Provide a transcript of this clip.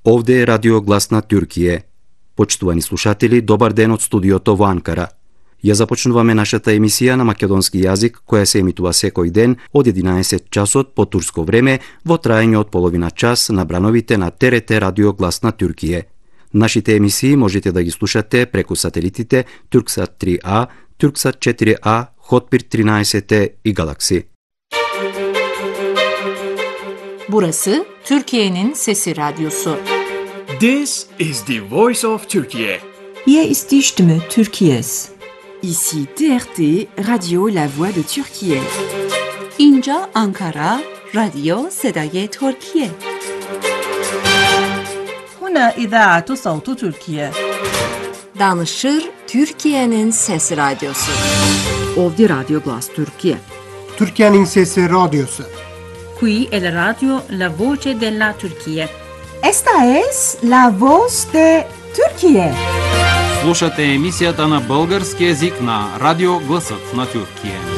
Овде е Радио Глас на Тюркије. Почитувани слушатели, добар ден од студиото во Анкара. Ја започнуваме нашата емисија на македонски јазик, која се емитува секој ден од 11 часот по турско време во траење од половина час на брановите на ТРТ Радио Глас на Тюркије. Нашите емисии можете да ги слушате преку сателитите Турксат 3А, Турксат 4А, Hotbird 13 и Galaxy. Burası Türkiye'nin Sesi Radyosu. This is the voice of Turkey. Hier ist die Stimme Türkiye's. Ici TRT, Radio La Voix de Türkiye. İnca Ankara, Radyo Sedaye Türkiye. هنا إذاعة صوت تركيا. Danışır Türkiye'nin Sesi Radyosu. Ovdje Radio Glas Türkiye. Türkiye'nin Sesi Radyosu. Qui è la radio La Voce della Turchia. Esta es la voz de Türkiye. Слушате емисијата на български език на Радио Гласот на Тюркије.